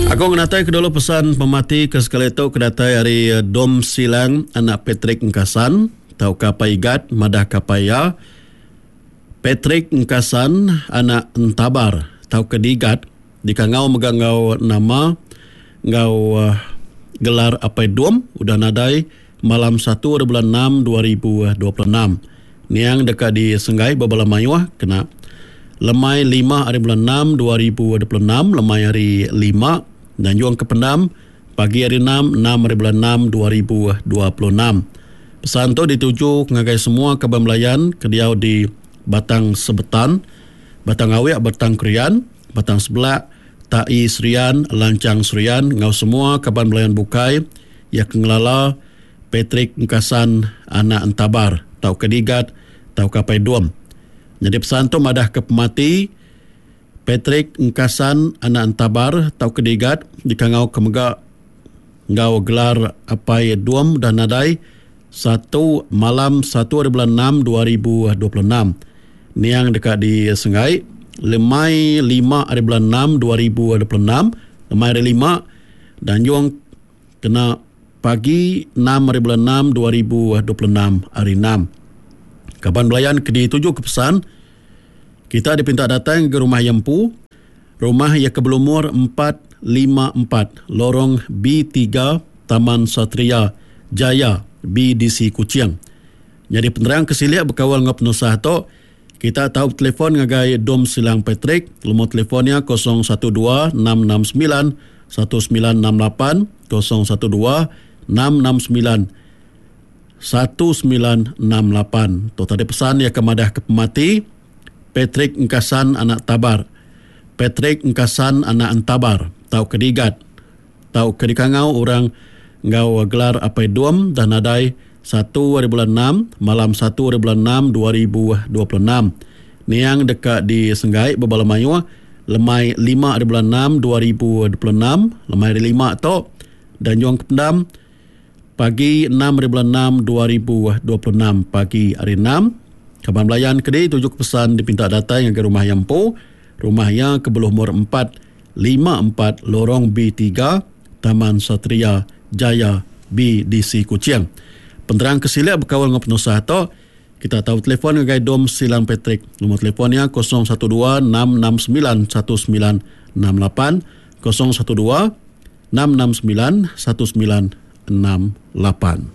Aku ngenatai ke dulu pesan pemati ke sekali tu ke datai ari Dom Silang anak Patrick Engkasan tauka Apai Igat madah ke apai iya Patrick Engkasan anak Entabar tauka Digat dikangau mega enggau nama enggau gelar Apai Dom udah nadai malam satu ari bulan enam 2026. Niang deka disenggai bebala mayuh kena lemai lima ari bulan enam 2026 lemai hari lima nganjung ke pendam pagi hari enam enam ari bulan enam 2026. Pesan tu dituju ngagai semua kaban belayan ke diau di Batang Sebetan, Batang Awik Batang Krian, Batang Sebelak, Tai Serian, Lanchang Serian enggau semua kaban belayan bukai iya ke ngelala Patrick Engkasan anak Entabar tauka Digat tauka Apai Dom. Nyadi pesan tu madahka pemati Patrick Engkasan anak Entabar tauka Digat dikangauka mega enggau gelar Apai Dom udah nadai satu malam satu hari bulan enam 2026. Niang deka disenggai lemai lima hari bulan enam 2026 lemai hari lima Danjung kena pagi enam hari bulan enam 2026 hari enam. Kaban belayan ke dituju ke pesan kita dipinta datai ngagai rumah iya empu. Rumah iya ke belumur 454 Lorong B3 Taman Satria Jaya BDC Kuching. Nyadi penerang ke silik bekaul enggau penusah tu, kita tau betelefon ngagai Dom Silang Patrick, lumur telefon iya 012 669 1968, 012 669 1968. Tu tadi pesan iya ke madah ke pemati Patrick Engkasan anak Tabar. Patrick Engkasan anak Entabar tauka Digat tauka dikangau orang enggau gelar Apai Dom dah nadai satu hari bulan enam malam satu hari bulan enam 2026. Niang deka disenggai bebala mayuh lemai lima hari bulan enam 2026 lemai hari lima tu Danjung ke Pendam pagi enam hari bulan enam 2026 pagi hari enam. Kaban belayan ke dituju ke pesan dipinta datai ngagai rumah iya empu. Rumah iya ke belumur empat lima empat Lorong B tiga, Taman Satria Jaya BDC Kuching. Penerang ke silik bekaul enggau penusah tu, kita tau betelefon ngagai Dom Silang Patrick. Lumur telefon iya 012 669 1968, 012 669 1968.